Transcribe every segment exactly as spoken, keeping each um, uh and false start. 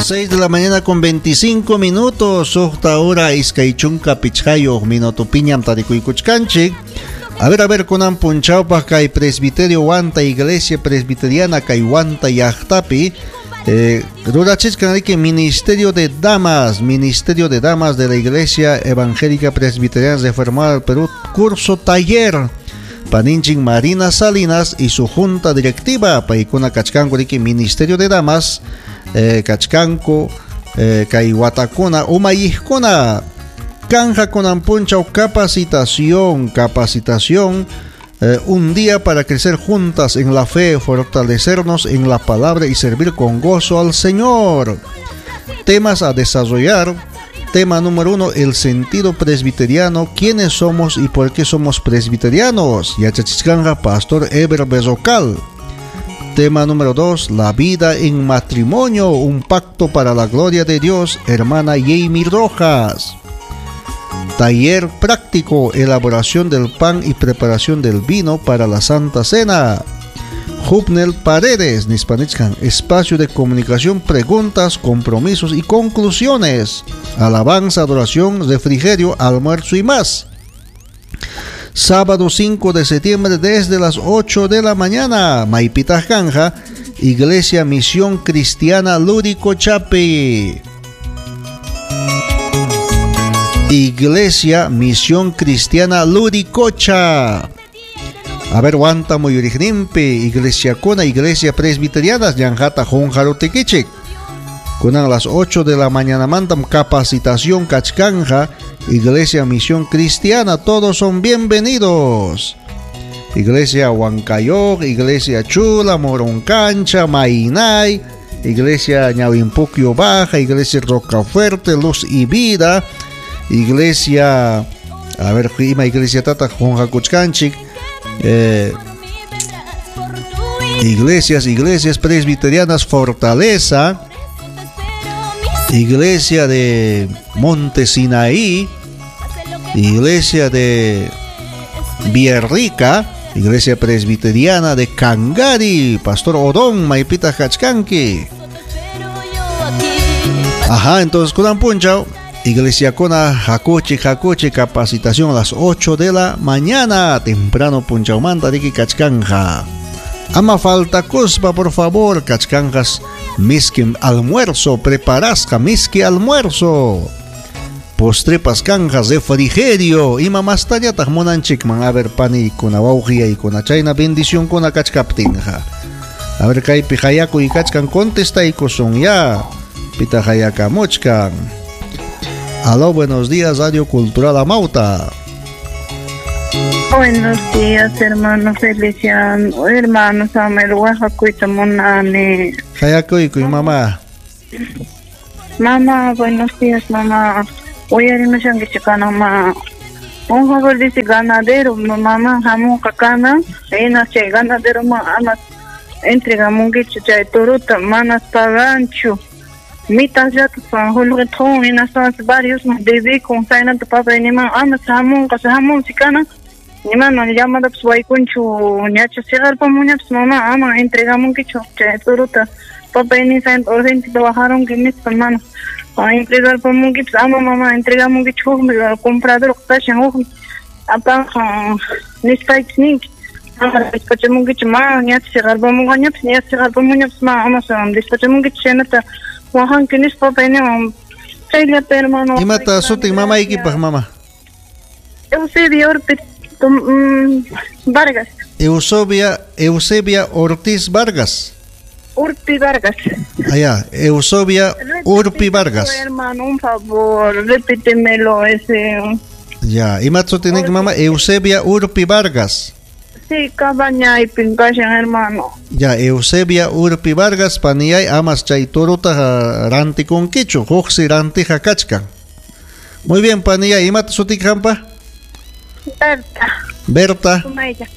seis de la mañana con veinticinco minutos, suqta hora iskay chunka pichqayuq minuto piñam tarikuykuchkanchik. A ver, a ver, kunan punchawpaq kay presbiterio Huanta, Iglesia Presbiteriana kay Huanta llaqtapi, eh, rurachichkan riki Ministerio de Damas, Ministerio de Damas de la Iglesia Evangélica Presbiteriana Reformada del Perú, curso taller. Paninchik Marina Salinas y su junta directiva, paykuna kachkanku riki Ministerio de Damas, eh, kachkanku, eh, kay watakuna umayijkuna kanja kunan punchaw capacitación, capacitación, eh, un día para crecer juntas en la fe, fortalecernos en la palabra y servir con gozo al Señor. Temas a desarrollar. Tema número uno, el sentido presbiteriano, quiénes somos y por qué somos presbiterianos. Yachachichkanja, Pastor Eber Berrocal. Tema número dos, la vida en matrimonio, un pacto para la gloria de Dios, hermana Jamie Rojas. Taller práctico, elaboración del pan y preparación del vino para la Santa Cena. Jubnel Paredes, Nispanichkan, espacio de comunicación, preguntas, compromisos y conclusiones. Alabanza, adoración, refrigerio, almuerzo y más. Sábado cinco de septiembre desde las ocho de la mañana, Maipita Janja, Iglesia Misión Cristiana Lúrico Chapi. Iglesia Misión Cristiana Luricocha. A ver, Huanta Muyurignimpi, Iglesia Cuna, Iglesia Presbiteriana, Yanjata Junjarutequichic. Kunan a las ocho de la mañana mandan capacitación Cachcanja, Iglesia Misión Cristiana, todos son bienvenidos. Iglesia Huancayoc, Iglesia Chula, Moroncancha, Mainay, Iglesia Ñawimpuquio Baja, Iglesia Rocafuerte, Luz y Vida, Iglesia, a ver, ima Iglesia Tata, Junjacuchcanchic, eh, iglesias, iglesias presbiterianas Fortaleza, Iglesia de Monte Sinaí, Iglesia de Villarrica, Iglesia Presbiteriana de Cangari, Pastor Odón, Maipita Hachcanqui. Ajá, entonces kunan punchaw, Iglesia Cona, Jacoche, Jacoche, capacitación a las ocho de la mañana, temprano punchawmanta, riki kachkanja. Ama falta cospa, por favor, kachkanjas, miski almuerzo, preparasca, miski almuerzo. Postre pascanjas, refrigerio, ima mastañataq munanchikman, a ver, panikuna, wawqiyaykuna, chayna bendición kuna kachkaptinja. A ver, kaypi hayakuy kachkan, contestaykusun ya, pita hayakamuchkan. Aló, buenos días, Radio Cultural Amauta. Buenos días, hermano Feliciano, hermano Samuel, Oaxacuita Monani. Hayakuykuy, mamá. Mamá, buenos días, mamá. Uyarimushankichikana, un favor dice ganadero, mamá, jamón cacana, ena che ganadero, ma, amas, entregamunkichu chay toruta, manas paganchu. Mitas ya pan julgetón, ena son varios más debí con sainanta papa ni ma, amas jamón, casa jamón sikana. Ni ma, llama da psuaykunchu, ñacha sigarpamuñapas, mamá, ama, entregamunkichu chay toruta. Papa ni saint urgente trabajaron que mis hermanos. A entregar por munkips, ama mamá, entregamunkichu, comprador, kashan, uj, apa, nispayks ama despachamunkichu, ma, ñacha sigarpamungañapas, ñacha sigarpamuñapas, ma, ama, despachamunkichu, chaynata, wajanki nispa, papa ni, chayllata, hermano. Imata sutin mamaykipaq, mamá? Eusebia Ortiz Vargas. Eusebia, Eusebia Ortiz Vargas. Urpi Vargas. Allá, Eusebia Urpi Vargas. Hermano, un favor, repítemelo ese. Ya, ¿y tiene mamá? Eusebia Urpi Vargas. Sí, cabaña y pincashan, hermano. Ya, Eusebia Urpi Vargas, paniyay amas chay toruta rantikunkichu, huksi rantija kachkan. Muy bien, paniyay, ¿imata sutik hampa? Berta. Berta. Sumaya.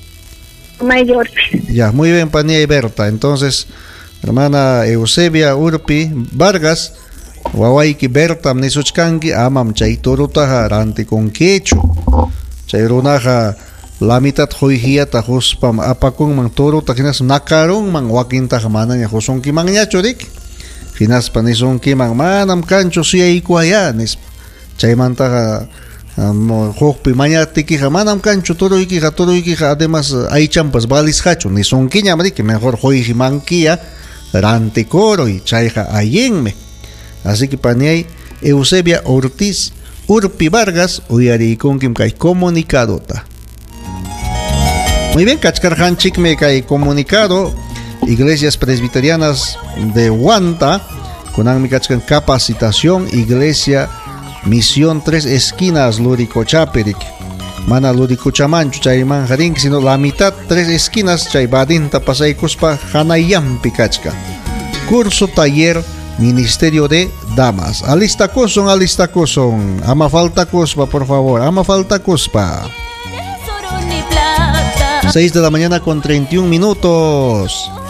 Sumaya Urpi. Ya, muy bien, paniyay Berta. Entonces, hermana Eusebia Urpi Vargas, wawayki Berta nisuchkanki, amam chay torutaja rantikunkichu. Chay runaja la mitad qoyhiyata huspam apakunman toruta hinas nakarunman wakintaqa manaña husunkimanñachu riki. Hinaspa nisunkiman manam kanchu suyaykuwaya nispa. Chaymantaqa hukpi mañaptikiqa manam kanchu turuykiqa turuykiqa además aychampas valisqachu nisunkiñam riki mejor quymankiya rantikuruy chayqa allinmi. Así que paniay Eusebia Ortiz Urpi Vargas uyariykunkim kay comunicadota. Muy bien, kachkarqanchikmi kay comunicado Iglesias Presbiterianas de Huanta kunanmi kachkan capacitación Iglesia Misión Tres Esquinas Luricochapirik. Mana Luricochamanchu chayman rinki sino la mitad Tres Esquinas chay badinta pasaykuspa hanayampi kachkan. Curso taller Ministerio de Damas. Alistakusun, alistakusun. Ama faltakuspa, por favor. Ama faltakuspa. seis de la mañana con treinta y un minutos.